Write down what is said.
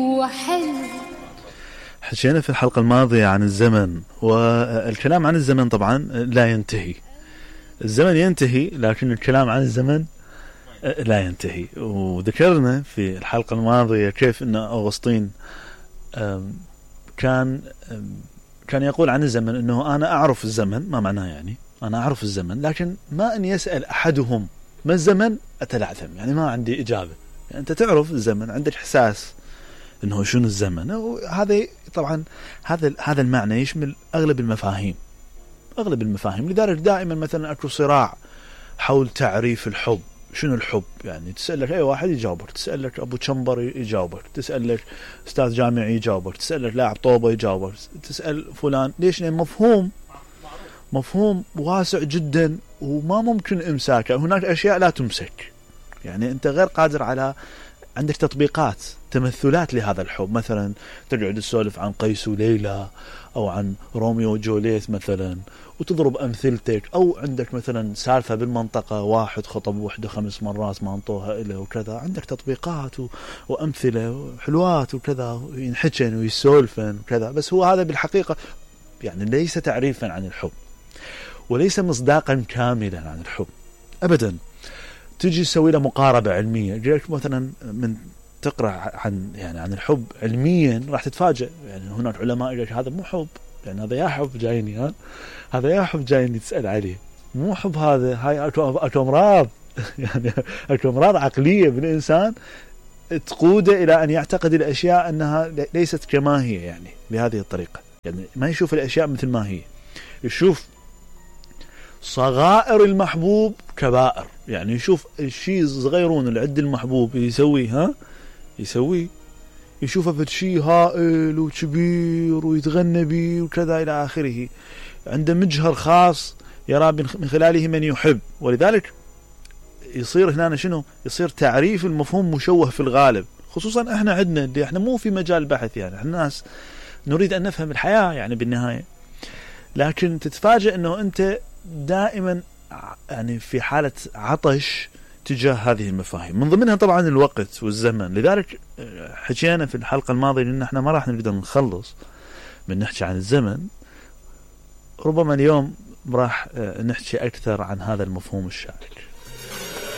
وحلو. حكينا في الحلقة الماضية عن الزمن، والكلام عن الزمن طبعا لا ينتهي. الزمن ينتهي لكن الكلام عن الزمن لا ينتهي. وذكرنا في الحلقة الماضية كيف أن أغسطين كان يقول عن الزمن أنه أنا أعرف الزمن. ما معناه يعني أنا أعرف الزمن، لكن ما أن يسأل أحدهم ما الزمن أتلعثم، يعني ما عندي إجابة. يعني أنت تعرف الزمن، عندك إحساس أنه شنو الزمن. وهذا طبعا هذا المعنى يشمل أغلب المفاهيم. لذلك دائما مثلا أكو صراع حول تعريف الحب. شنو الحب؟ يعني تسألك أي واحد يجاوبك، تسألك أبو تشمبر يجاوبك، تسألك أستاذ جامعي يجاوبك، تسألك لاعب طوبة يجاوبك، تسأل فلان. ليش؟ لأن مفهوم واسع جدا وما ممكن إمساكه. هناك أشياء لا تمسك، يعني أنت غير قادر على. عندك تطبيقات، تمثلات لهذا الحب. مثلا تقعد تسولف عن قيس وليلى أو عن روميو وجوليت مثلا وتضرب أمثلتك، أو عندك مثلا سالفة بالمنطقة، واحد خطب وحده 5 مرات ما انطوها إله وكذا. عندك تطبيقات وأمثلة حلوات وكذا، ينحكن ويسولفن وكذا. بس هو هذا بالحقيقة يعني ليس تعريفا عن الحب، وليس مصداقا كاملا عن الحب أبدا. تجي تسوي له مقاربة علمية، جيك مثلا من تقرأ عن الحب علميا راح تتفاجأ. يعني هناك علماء يقول هذا مو حب، يعني هذا يا حب جايني، هذا يا حب جايني تسأل عليه، مو حب هذا. هاي أكو أمراض يعني أكو أمراض عقلية بالإنسان تقوده إلى أن يعتقد الأشياء أنها ليست كما هي، يعني بهذه الطريقة. يعني ما يشوف الأشياء مثل ما هي، يشوف صغائر المحبوب كبائر. يعني يشوف الشيء صغيرون اللي عند المحبوب يسويه يشوفه في شيء هائل وكبير ويتغنى به وكذا إلى آخره. عنده مجهر خاص يرى من خلاله من يحب. ولذلك يصير هنا شنو؟ يصير تعريف المفهوم مشوه في الغالب، خصوصا احنا عندنا اللي احنا مو في مجال بحث. يعني احنا الناس نريد أن نفهم الحياة يعني بالنهاية، لكن تتفاجئ أنه أنت دائما يعني في حالة عطش تجاه هذه المفاهيم، من ضمنها طبعا الوقت والزمن. لذلك حكينا في الحلقة الماضية لأن احنا ما راح نقدر نخلص من نحكي عن الزمن. ربما اليوم راح نحكي أكثر عن هذا المفهوم الشائك.